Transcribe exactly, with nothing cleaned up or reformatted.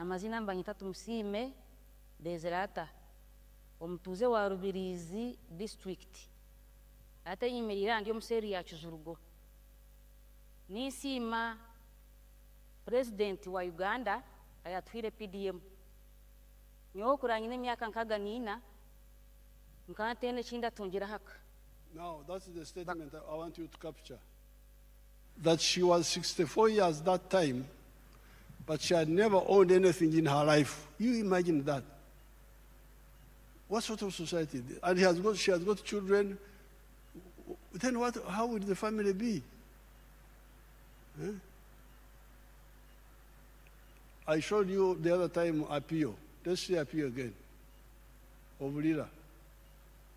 Amazina nibanyeta Tumusiime Bezirata, omutuuze wa Rubirizi district. Ate nyemeriire aha ndi omuseeri ya Kijurugo. Ninsiima Purezidenti wa Uganda ayatuhaire P D M. Nyowe okura nyine emyaka nkaaga niina, nkaba ntaine eki ndatungira ahaka. Now, that's the statement I want you to capture. That she was sixty-four years that time, but she had never owned anything in her life. You imagine that. What sort of society? And he has got, she has got children. Then what, how would the family be? Huh? I showed you the other time Apio. Let's see Apio again. Of Lira.